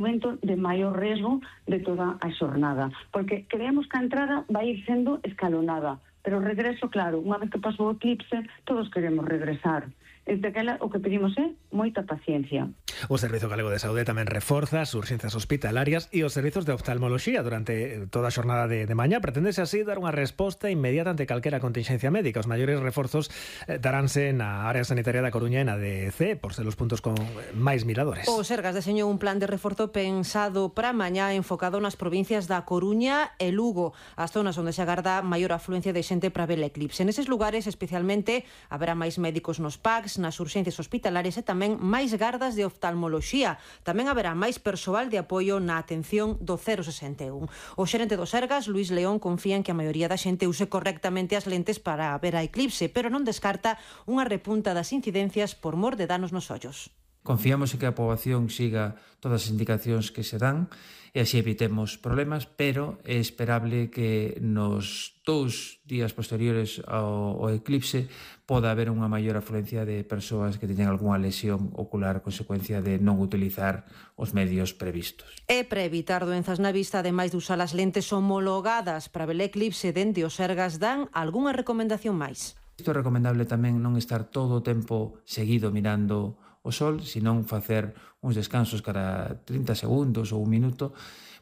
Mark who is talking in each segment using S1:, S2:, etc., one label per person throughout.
S1: momento de maior riesgo de toda a xornada, porque creemos que a entrada vai ir sendo escalonada, pero o regreso, claro, unha vez que pasou o eclipse, todos queremos regresar. Desde aquela o que pedimos é moita paciencia.
S2: O Servizo Galego de Saúde tamén reforza as urxencias hospitalarias e os servizos de oftalmoloxía durante toda a xornada de mañá. Pretendese así dar unha resposta inmediata ante calquera contingencia médica. Os maiores reforzos daránse na área sanitaria da Coruña e na DC, por ser os puntos con máis miradores.
S3: O Sergas deseñou un plan de reforzo pensado para mañá enfocado nas provincias da Coruña e Lugo, as zonas onde se agarda maior afluencia de xente para ver o eclipse. Neses lugares, especialmente, haberá máis médicos nos PACs, nas urxencias hospitalarias e tamén máis gardas de oftalmoloxía. Tamén haberá máis persoal de apoio na atención do 061. O xerente do Sergas, Luís León, confía en que a maioría da xente use correctamente as lentes para ver a eclipse, pero non descarta unha repunta das incidencias por mor de danos nos ollos.
S4: Confiamos en que a poboación siga todas as indicacións que se dan e así evitemos problemas, pero é esperable que nos 2 días posteriores ao eclipse poda haber unha maior afluencia de persoas que teñen algunha lesión ocular a consecuencia de non utilizar os medios previstos.
S3: E para evitar doenzas na vista, ademais de usar as lentes homologadas para ver o eclipse, dende o Sergas dan algunha recomendación máis.
S4: Isto é recomendable tamén non estar todo o tempo seguido mirando o sol, senón facer uns descansos cada 30 segundos ou un minuto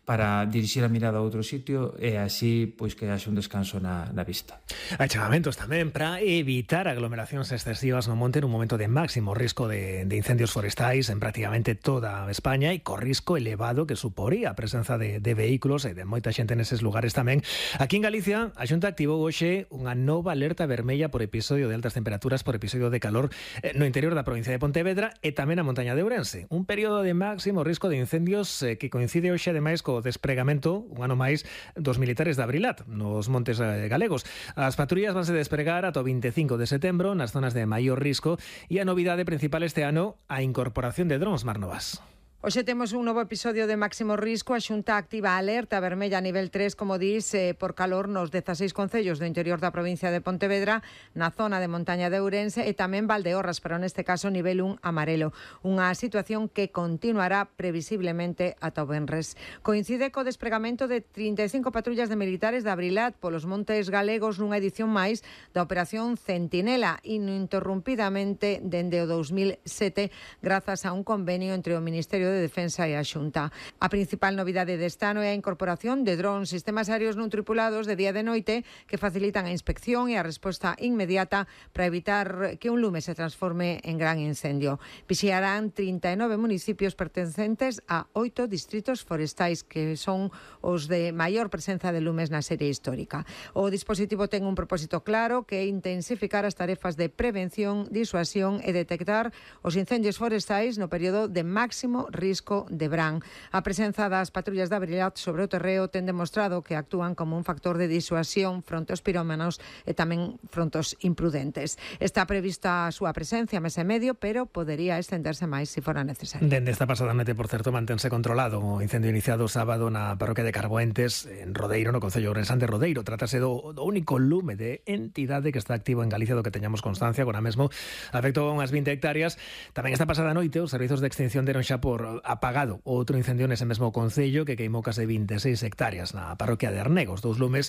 S4: para dirixir a mirada a outro sitio e así pois que haxe un descanso na vista.
S2: Hai chamamentos tamén para evitar aglomeracións excesivas no monte nun momento de máximo risco de incendios forestais en prácticamente toda España e co risco elevado que suporía a presenza de vehículos e de moita xente neses lugares tamén. Aquí en Galicia, a Xunta activou hoxe unha nova alerta vermella por episodio de altas temperaturas, por episodio de calor no interior da provincia de Pontevedra e tamén a montaña de Ourense. Un período de máximo risco de incendios que coincide hoxe ademais co despregamento, un ano máis, dos militares de Abrilat, nos montes galegos. As patrullas vanse despregar ata o 25 de setembro nas zonas de maior risco e a novidade principal este ano, a incorporación de drons, Mar Novas.
S5: Hoxe temos un novo episodio de máximo risco. A Xunta activa a alerta vermella a nivel 3, como dis, por calor nos 16 concellos do interior da provincia de Pontevedra, na zona de montaña de Ourense e tamén Valdeorras, pero neste caso nivel 1 amarelo. Unha situación que continuará previsiblemente ata o venres. Coincide co despregamento de 35 patrullas de militares de Abrilat polos montes galegos nunha edición máis da Operación Centinela, ininterrumpidamente dende o 2007, grazas a un convenio entre o Ministerio de Defensa e a Xunta. A principal novidade deste ano é a incorporación de drons, sistemas aéreos non tripulados de día e de noite que facilitan a inspección e a resposta inmediata para evitar que un lume se transforme en gran incendio. Vixiarán 39 municipios pertencentes a 8 distritos forestais que son os de maior presenza de lumes na serie histórica. O dispositivo ten un propósito claro que é intensificar as tarefas de prevención, disuasión e detectar os incendios forestais no período de máximo risco de verán. A presenza das patrullas de Abrilat sobre o terreo ten demostrado que actúan como un factor de disuasión fronte aos pirómanos e tamén fronte aos imprudentes. Está prevista a súa presencia mes e medio, pero podería extenderse máis se fora necesario.
S2: Dende esta pasada noite, por certo, mantense controlado o incendio iniciado sábado na parroquia de Carboentes, en Rodeiro, no concello ourensán de Rodeiro. Trátase do único lume de entidade que está activo en Galicia do que teñamos constancia. Agora mesmo afectou a unhas 20 hectáreas. Tamén esta pasada noite os servizos de extinción deron xa por apagado outro incendio nese mesmo concello que queimou case 26 hectáreas na parroquia de Arnegos. Dous lumes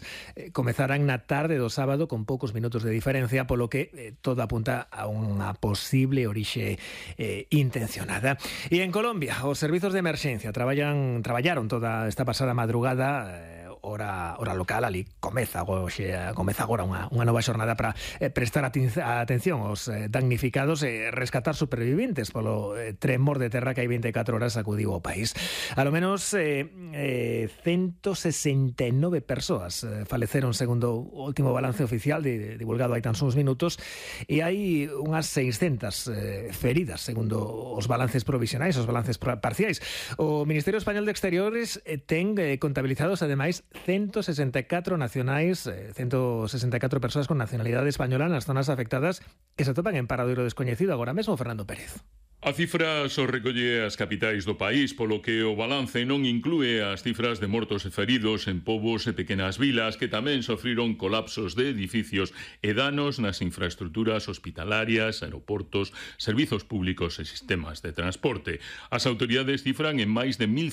S2: comezarán na tarde do sábado con poucos minutos de diferencia, polo que todo apunta a unha posible orixe intencionada. E en Colombia, os servizos de emerxencia traballaron toda esta pasada madrugada hora local. Ali comeza agora unha nova xornada para prestar atención aos damnificados e rescatar superviventes polo tremor de terra que hai 24 horas sacudiu o país. A lo menos 169 persoas faleceron segundo o último balance oficial divulgado hai tan só uns minutos e hai unhas 600 feridas segundo os balances provisionais, os balances parciais. O Ministerio Español de Exteriores ten contabilizados ademais 164 nacionais, 164 persoas con nacionalidade española nas zonas afectadas que se atopan en paradoiro descoñecido agora mesmo. Fernando Pérez.
S6: A cifra só recolle as capitais do país, polo que o balance non inclúe as cifras de mortos e feridos en pobos e pequenas vilas que tamén sofriron colapsos de edificios e danos nas infraestructuras hospitalarias, aeroportos, servizos públicos e sistemas de transporte. As autoridades cifran en máis de 1.500